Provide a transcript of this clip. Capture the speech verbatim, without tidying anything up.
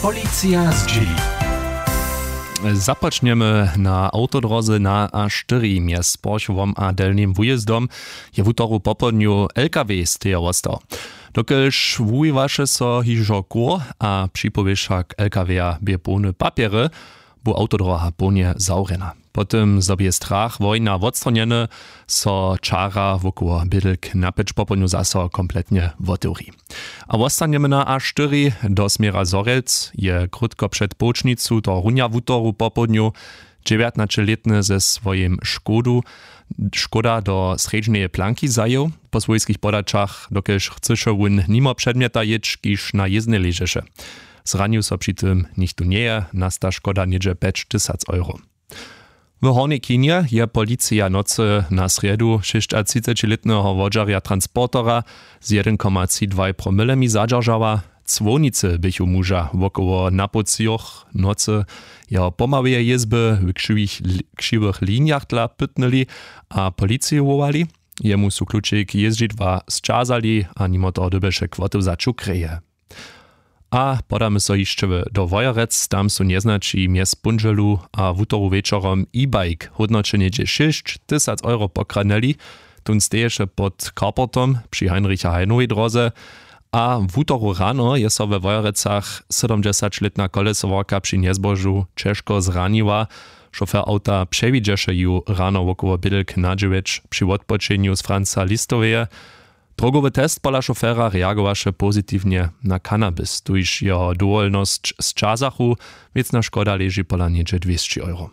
Policija zdźěli. Započnjemy na awtodróze na a štyri mjez Porchowom a Delnim Wujězdom. Je wutoru popołdnju L K W z teje wostał. Dokelž wuwiwaše so hižo kur a připowěša k L K W-a bě połny papjery, bu awtodróha połnje zawrjena. Po tym zo bě strach wojna wotstronjeny, so čara wokoło bědlk na pjeć popołdnju zaso kompletnje wotewri. A wostanjemy na a štyri do směra Zhorjelc. Je krótko před połčnicu do runja wutoru popołdnju dźewjatnaćelětny ze swojim škodu škoda do srjedźneje planki zajěł. Po swójskich podaćach dokelž chcyše wón nimo předmjeta jěć kiž na jěznej ležeše. Zranił so při tym nichtó njeje. Nasta škoda něhdźe pjećtysac euro. W hornjej chinje je policija nocy na srjedu šěsćatřicećilětneho wodźerja transportera z jedyn koma tři dwaj promylemi zadźeržała. Cłownicy běchu muža wokoło napołcijoch nocy jeho pomałeje jězby w křiwych linjach dla pytnyli a policiju wołali. Jemu su klučik jězdźidła sćazali a nimo toho dyrbješe kwotu za čukreje. A podamy so hišće do wojerec. Tam su njeznaći mjez póndźelu a wutoru wječorom e-bike hódnoće něhdźe šěsć tysac euro pokradnyli. Tón steješe pod carportom při heinricha heinowej dróze. A wutoru rano je so we wojerecach sydomdźesaćlětna kolesowarka při njezbožu ćežko zraniła. Šofer awta přewidźeše ju rano wokoło bědlk na dźewjeć při wotpočenju z franca listoweje. Drogowy test pola šofera reagowaše pozitiwnje na cannabis tuž jeho dowolnosć sćazachu. Wěcna škoda leži pola něhdźe dwěsći euro.